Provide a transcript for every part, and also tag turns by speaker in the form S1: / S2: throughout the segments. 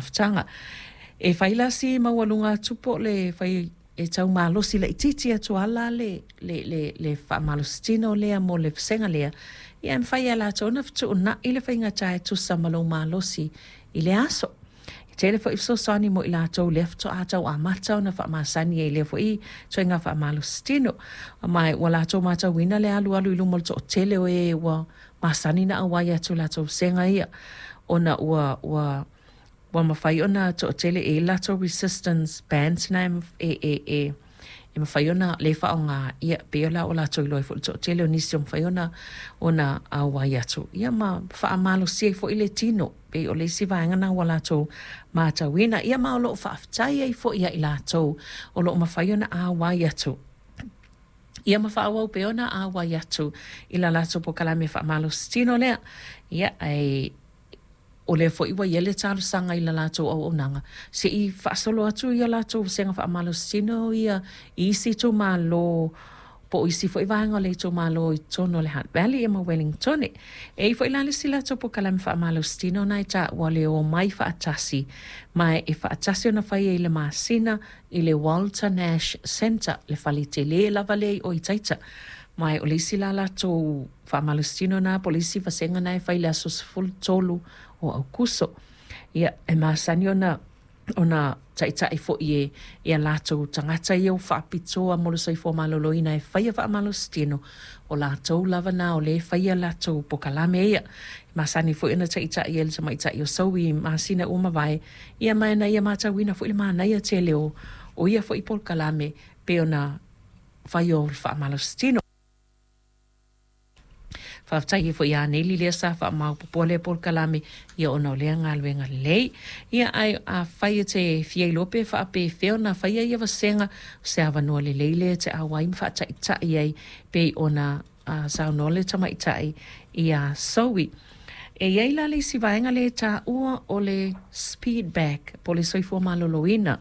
S1: mafutaga. E fai la si maualuga atu po o le fai e tau malosi laitiiti atu lava la le faamalositino lea mo le vasega lea, ia e mafai lava e latou ona fetuunai le faigata e tusa ma lou malosi i le aso. E tele foi fesoasoani mo i latou lea faatoa tau amata ona faamasani ai i lea foi ituaiga faamalositino. Ma ua latou matauina le alualu i luma o le toatele o e ua masani ona auai atu i latou vasega ia ona ua mafai ona toatele e i ai latou resistance bands na e mafai ona lea e faaaoga, ia pei la ua latou iloa ai foi le toatele o nisi o mafai ona auai atu ia ma faamalosia ai foi le tino. Pei o le isi vaega lena ua latou matauina. Ia ma o lo o faafetai ai foi ia i latou o lo o mafai ona auai atu ia ma faaauau pea ona auai atu i la latou polokalame faamalositino lea. Ia, ae o lea foi ua i ai le talosaga i la latou auaunaga se i faasolo atu ia latou vasega faamalositino ia i isi itumalo po o isi foi vaega o le itumalo i totonu o le Hutt Valley ma Wellingtone. E i ai foi la le isi latou polokalame faamalositino lena e taua o le Omai Faatasi, ma e faatasi ona fai ai i le masina i le Walter Nash Centre, le fale tele lava lea i o i Taita. Ma o le isi la latou faamalositino lena po o le isi vasega lena e fai i le aso 13 o Aokuso. Ia, e masani ona taitai foi e a latou tagata ia ua faapitoa mo le soifua maloloina e faia faamalositino, o latou lava na o lea e faia latou polokalame ia. E masani foi ona taitai e le tamaitai o Soui i masina ua mavae, ia ma na ia matauina foi le manaia tele o ia foi polokalame pei ona fai o le faamalositino. Faafetai ai foi ia Neli lea sa faamaopoopoa lea polokalame ia ona o lea galuega lelei. Ia ae afai e te fia iloa pe faapefea ona faia ia vasega, o se avanoa lelei lea e te auai ma faataitai ai pei ona saunoa le tamaitai ia Soui. E i ai la le isi vaega lea e taua o le speed back po o le soifua maloloina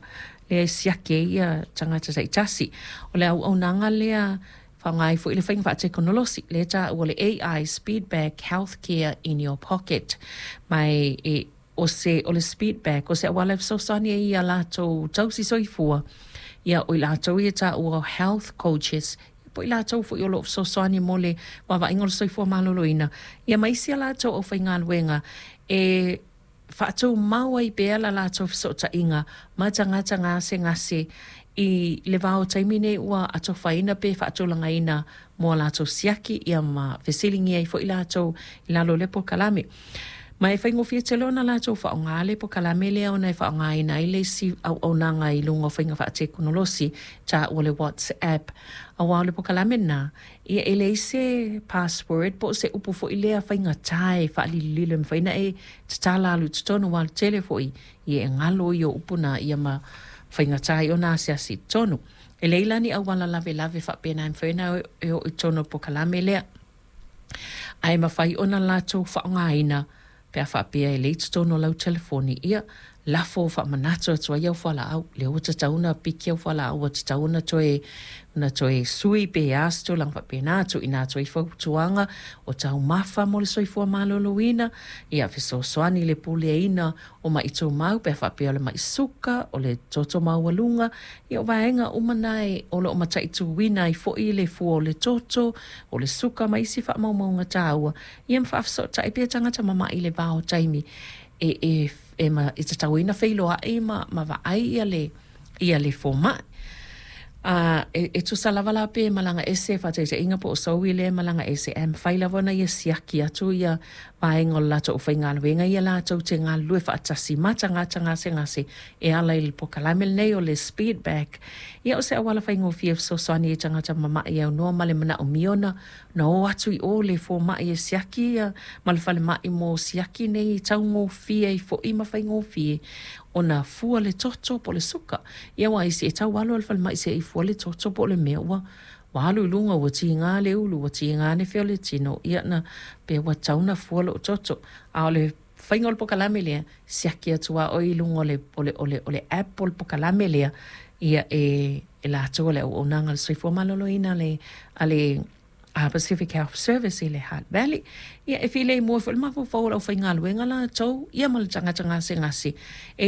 S1: lea e siaki ai ia tagata taitasi. O le auaunaga lea faaaoga ai foi le faiga faatekonolosi lea e taua o le AI Speed Back Healthcare in your pocket. Ma e o se o le speed back o se auala e fesoasoani ai ia latou tausi soifua ia o i latou ia e taua o health coaches po o i latou foi o lo o fesoasoani mo le vaavaaiga o le soifua maloloina ia ma isi a latou aufaigaluega e faatumau ai pea la latou fesootaiga ma tagata gasegase i le va o taimi nei ua atofaina pe faatulagaina mo a latou siaki ia ma fesiligia ai foi latou i lalo o lea polokalame. Ma e faigofie tele ona latou faaaoga le polokalame lea ona e faaaogaina ai le isi auaunaga i luga o faiga faatekonolosi taua o le WhatsApp. Aua o le polokalame lena, ia e leai se password po o se upu foi lea faigata e faalilolilo e mafai ona e tatala alu i totonu aua o le tele foi ia e galo ia o upu na ia ma faigata ai ona asiasi i totonu. E leai la ni auala lavelave faapena e mafai ona e oo i totonu o le polokalame lea. Ae mafai ona latou faaaogaina pe a faapea e leai totonu o lau telefoni, ia lafo faamanatu atu ai au fualaau, lea ua tatau ona piki au fualaau, ua tatau ona toe sui pe a se tulaga faapena, tuuina atu ai fautuaga o taumafa mo le soifua maloloina, ia fesoasoani i le puleaina o mai tumau pe a faapea o le mai suka, o le toto maualuga, ia o vaega uma na o lo o mataituina ai foi le fua o le toto, o le suka ma isi faamaumauga taua, ia ma faafesootai pea tagata mama'i i le va o taimi e tatau ai ona feiloai ma vaai ia le fomai. E tusa lava la pe malaga ese faataitaiga po o Soui lea e malaga ese ae mafai lava ona ia siaki atu ia vaega o le latou aufaigaluega ia latou te galulue faatasi ma tagata gasegase e ala i le polokalame lenei o le speed back. Ia o se auala faigofie e fesoasoani ai i tagata mama'i e aunoa ma le manaomia ona o atu i o le fomai e siaki ia ma le falemai mo siaki nei e taugofie ai foi ma faigofie ona fua le toto po o le suka. Ia aua isi e tau alu i le falemai se i fua le toto po o le mea ua alu i luga ua tiga le ulu ua tiga le fea o le tino ia na pe ua tatau ona fua lou toto. A o le faiga o le polokalame lea, siaki atu lava oe i luga o le app o le polokalame lea ia e latou o le auaunaga a le soifua maloloina a le Pacific Health Service i le Hutt Valley. Ia e filemu ai foi le mafaufau o le aufaigaluega latou ia ma le tagata gasegase. E